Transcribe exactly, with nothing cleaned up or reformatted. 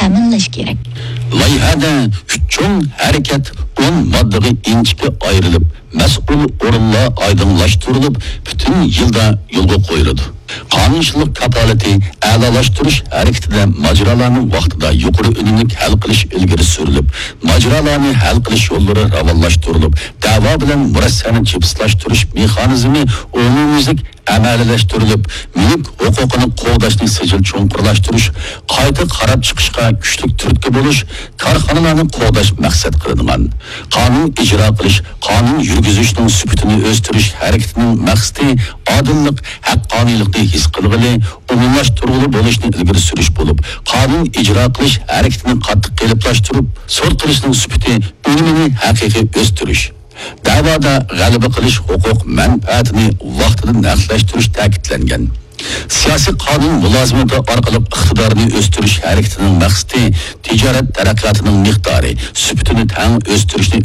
تەمىنلەش كېرەك. لايىھەدە ئۈچ چوڭ ھەرىكەت ئون ماددىغا ئىنچىكە ئايرىلىپ، مەسئۇل ئورۇنلار ئايدىڭلاشتۇرۇلۇپ، پۈتۈن يىلدا يولغا قويۇلىدۇ. قانۇنچىلىق كاپالىتى ئەلالاشتۇرۇش ھەرىكىتىدە ماجىرالارنى ۋاقتىدا يۇقىرى ئۈنۈملۈك ھەل قىلىش ئىلگىرى سۈرۈلۈپ، ماجىرالارنى ھەل قىلىش يوللىرى راۋانلاشتۇرۇلۇپ، دەۋا بىلەن مۇرەسسەنى جىپسلاشتۇرۇش مېخانىزمى ئومۇميۈزلۈك ئەمەلىيلەشتۈرۈلۈپ، مۈلۈك ھوقۇقىنى قوغداشنى سىجىل چوڭقۇرلاشتۇرۇش، قايتا قاراپ چىقىشقا كۈچلۈك تۈرتكە بولۇش، كارخانىلارنى قوغداش مەقسەت قىلىنغان. قانۇن ئىجرا قىلىش، قانۇن يۈرگۈزۈشنىڭ سۈپىتىنى ئۆستۈرۈش ھەرىكىتىنىڭ مەقسىتى ئادىللىق، ھەققانىيلىقنى ھېس قىلغىلى، ئومۇملاشتۇرغىلى بولۇشنى ئىلگىرى سۈرۈش بولۇپ، قانۇن ئىجرا قىلىش ھەرىكىتىنى قاتتىق قېلىپلاشتۇرۇپ، سوت قىلىشنىڭ سۈپىتى، ئۈنۈمىنى ھەقىقىي ئۆستۈرۈش. دەۋادا غەلىبە قىلىش ھوقۇق مەنپەئەتىنى ۋاقتىدا نەقلەشتۈرۈش تەكىتلەنگەن. سىياسىي قانۇن مۇلازىمىتى ئارقىلىق ئىقتىدارنى ئۆستۈرۈش ھەرىكىتىنىڭ مەقسىتى تىجارەت تەرەققىياتىنىڭ مىقدارى، سۈپىتىنى تەڭ ئۆستۈرۈشنى